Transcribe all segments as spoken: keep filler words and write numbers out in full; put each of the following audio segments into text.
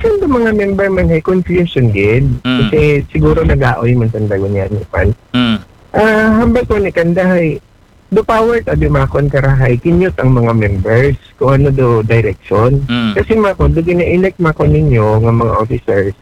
Kanda mga member man hay confusion gid. Mm. Kasi siguro nagaoy man sanda ganiyan, man. Mm. Ah, hambal ko ni kanda hay, do power ta di makon kara hay kinyot ang mga members kung ano do direction. Mm. Kasi makon, do gina-elect makon ninyo nga mga officers,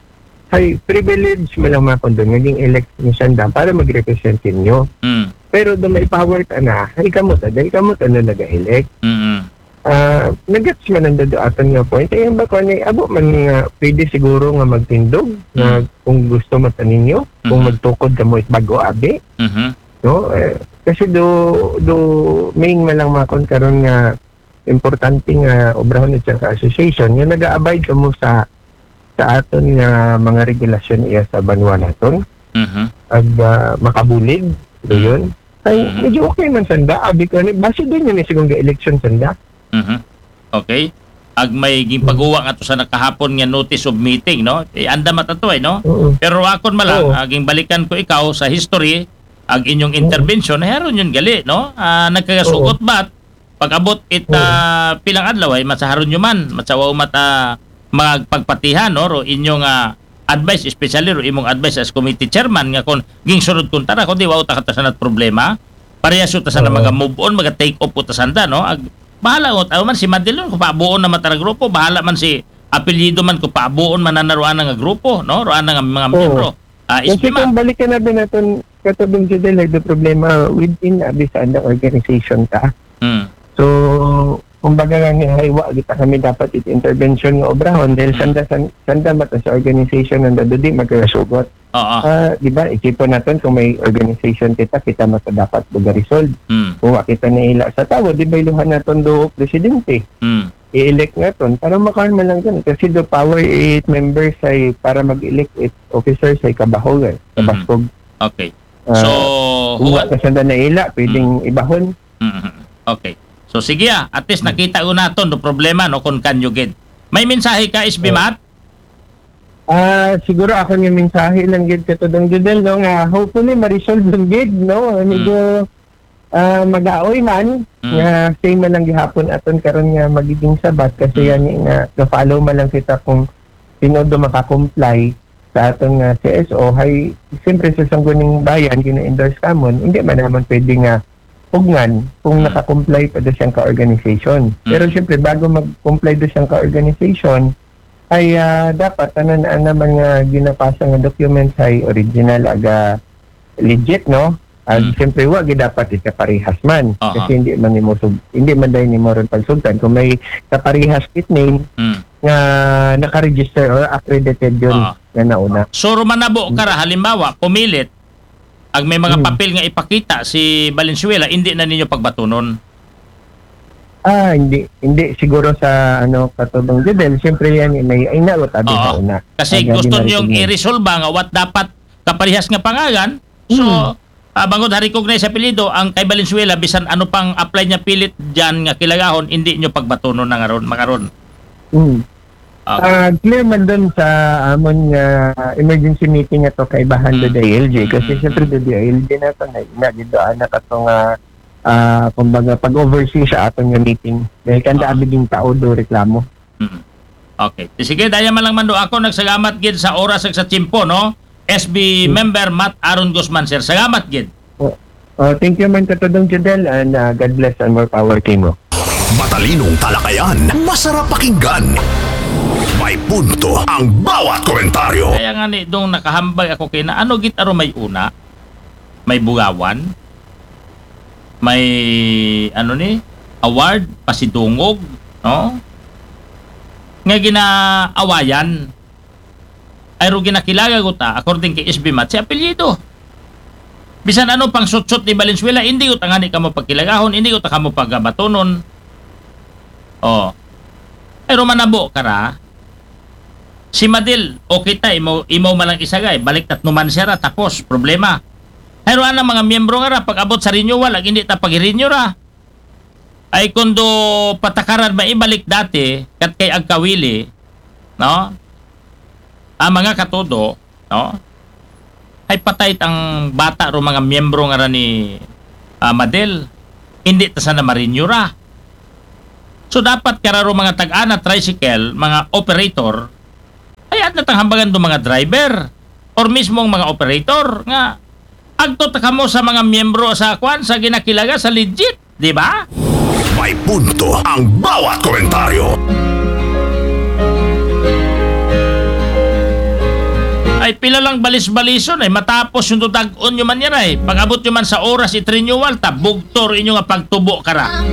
hay privilege man lang makon do nga ging-elect ni sanda para mag-represent ninyo. Mm. Pero do may power ta na, hay kamo ta, dahil kamo ta na naga-elect. Mm. Ah, nagets man ang dadoatan nga point. Ay, ang bako ni, abo man nga pwede siguro nga magtindog na Mm. kung gusto man ta ninyo, kung Mhm. magtukod kamo it bago abi, Mhm. no? Eh, kasi do, do main man lang makon karon nga importante nga obrahon it siyang ka-association nga naga-abide kamo sa, sa aton nga mga regulasyon iya sa banwa naton. Mhm. Ag, ah, makabulig, do yun. Ay, Mhm. medyo okay man sanda, abi ko ni, base din yun eh, sigong ga-election sanda. Mhm. Okay. Ag may ginpaguwa nga to sa nakahapon nga notice of meeting, no? Eh, anda matato ay, no? Oo. Pero akon man lang, Oo. aging balikan ko ikaw sa history, ag inyong Oo. intervention, ay haron yun gali, no? Ah, nagkagasugot Oo. ba? Pag-abot it, Oo. ah, pilang adlaw ay matsaharon nyo man, matsawa umat, ah, magpagpatihan, no? Ro inyong, ah, advice, especially ro imong advice as committee chairman nga kung gingsunod kuntara, kundi wa ta katasanat problema. Parehas ta sana Oo. maga-move on, maga-take off ta sanda, no? Ag, bahala ko, ano man si Madilon, kung paabuon na matara grupo, bahala man si apelyido man kung paabuon man na naroan nga grupo, no? Roan nga mga Oo. miyembro. Ah, Kasi S B man. Kung balikan natin natin, katubing Judel, nagdo-problema within abi sa andang organization ta. Hmm. So, kumbaga nga ni haywa, kita kami dapat it intervention nga obrahon dahil Hmm. sanda, san-, sanda mata sa organization ang dado di magkasugot. Oo. Ah, di ba, isipon natin kung may organization kita, kita mata dapat buga resolve. Hmm. Kung wa kita naila sa tawo, di ba iluhan natin do presidente? Hmm. I-elect natin para makaon man lang dyan. Kasi do power it members ay para mag-elect it officers ay kabahogan. Mhm. Kabaskog. Okay. Ah, So, kung wa huwag- ka sanda naila, pwedeng ibahon. Mhm. Okay. So, sige ah. At least nakita ko naton do problema, no, kung kanyo gid. May mensahe ka, S B Oh. Mat? Ah, siguro ako yung mensahe lang gid katudong Judel, no, nga hopefully ma-resolve lang gid, no, medyo ah, mag-aoy man, Mm. nga same man lang gihapon aton karon nga magiging sabat kasi Mm. yan nga ga-follow man lang kita kung sino do maka-comply sa aton nga C S O, hay siyempre sa Sangguniang Bayan gina-endorse kamon, hindi man naman pwede nga pugngan kung Mm. naka-comply pa do siyang ka-organization. Mm. Pero siyempre bago mag-comply do siyang ka-organization, ay ah, dapat tanan na naman nga ginapasa nga documents ay original, aga legit, no? Ag Mm. siyempre wa gid dapat ikaparehas man. Aha. Kasi hindi man nimo sub-, hindi man dahil nimo ron pagsugtan kung may kaparehas it name Hmm. nga naka-register or accredited yun Ah. nga nauna. So, rumanabo ka ra, halimbawa, pumilit, ag may mga Hmm. papel nga ipakita si Valenzuela, hindi na ninyo pagbatunon. Ah, hindi, hindi siguro sa ano, katubang Judel, siyempre yan, may ay nagot abi Oo. sa una. Kasi Aga gusto di niyong marinig. i-resolve nga what dapat kaparehas nga pangalan. So, Hmm. ah, bangod ha-recognize sa apelyido, ang kay Valenzuela, bisan ano pang apply niya pilit dyan nga kilagahon, hindi nyo pagbatunon na ngaron, makaron. Hmm. Okay. Ah, clear man dun sa amon nga emergency meeting ato kaibahan Mm. do D I L G. Kasi Mm, siyempre mm. do D I L G na to, na, na, gid do anak ato nga, ah, kumbaga, pag-oversee sa aton nga meeting. Dahil kanda Ah. abi ding tao do reklamo. Mm. Okay. Sige, daya man lang mando ako, nagsalamat gid sa oras ag sa tiyempo, no? S B Mm. member Matt Aaron Guzman, sir. Salamat gid. Oh, thank you man katudong Judel and ah, God bless and more power kimo. Matalinong talakayan, masarap pakinggan. May punto ang bawat komentaryo. Kaya nga ni, dong nakahambay ako kay na, ano gid aro may una? May bugawan? May, ano ni? Award? Pasidungog? No? Nga ginaawayan. Ay ro ginakilaga ko ta, according kay S B Mat, si apelyido. Bisan ano pang sutsot ni Valenzuela, hindi ko ta ngani kamo pagkilagahon, hindi ko ta kamo pagabatonon. Oh. Pero manabo ka ra, si Madil, okay ta, imo, imo malang isagay, balik tatnuman siya ra, tapos, problema. Pero anang mga miyembro nga ra, pag-abot sa renewal, ag hindi ta pag-renew ra. Ay kundo patakaran maibalik dati, kat kay agkawili, no? Ang mga katudo, no? Ay patay tang bata ro mga miyembro nga ra ni ah, Madel. Hindi ta sana ma-renew ra. So dapat kararo mga tag-ana tricycle, mga operator, Ano tang hambagan do mga driver or mismong mga operator nga agto ta kamo sa mga miyembro sa kwan, sa ginakilaga, sa legit, di ba? May punto ang bawat komentaryo. Ay, pila lang balis-balison ay matapos yung tutag-on nyo man yan ay. Pag-abot nyo man sa oras it-renewal, ta bugtor inyo nga pagtubo kara.